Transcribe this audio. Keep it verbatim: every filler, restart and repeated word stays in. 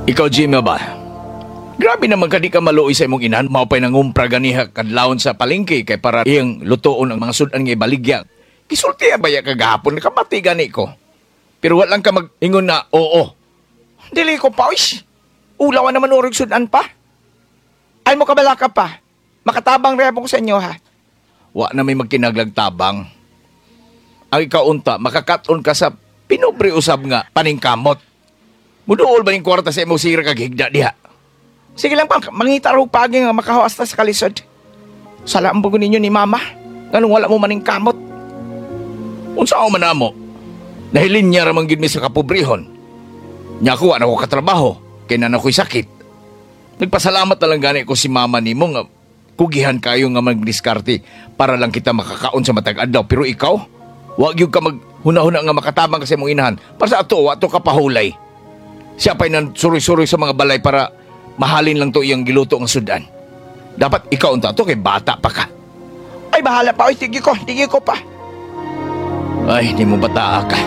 Ikaw, Jimmy ba? Grabe naman ka di ka maluoy sa imong inahan. Mao pa'y nangumpra ganiha kadlawon sa palengke kay para iyang lutoon ang mga sudan nga ibaligya. Gisulti ba ya kagahapon? Nakabati gani ko. Pero wala lang ka mag-ingon na oo. Dili ko pa, uish. Ulawan naman urig sudan pa. Ay mo kabala ka pa. Makatabang rebo ko sa inyo ha. Wa na may magkinaglag tabang. Ang ikaw unta, makakaton ka sa pinubre usab nga paningkamot. Muduol ba ning kwarta sa imong sira kag higda diha? Sige lang pa, mangita raw pagi nga makahawas ta sa kalisod. Sala ang bugo ninyo ni mama. Nganong wala mo maning kamot. Unsa man namo? Nahilin niya ramang gid mi sa kapobrehon. Nya ako wa na ko katrabaho kay na ako'y sakit. Nagpasalamat na lang gani ko si mama nimo nga kugihan kayo nga magdiskarte para lang kita makakaon sa matag adlaw. Pero ikaw, wa gyud ka maghuna-huna nga makatabang ka sa imong inahan. Para sa ato, wa to ka pahulay. Siya pa'y nan suroy-suroy sa mga balay para mahalin lang to iyang giluto nga sudan. Dapat ikaw unta to kay bata pa ka. Ay bahala pa, oy, tige ko, tige ko pa. Ay, di mo bataa ka.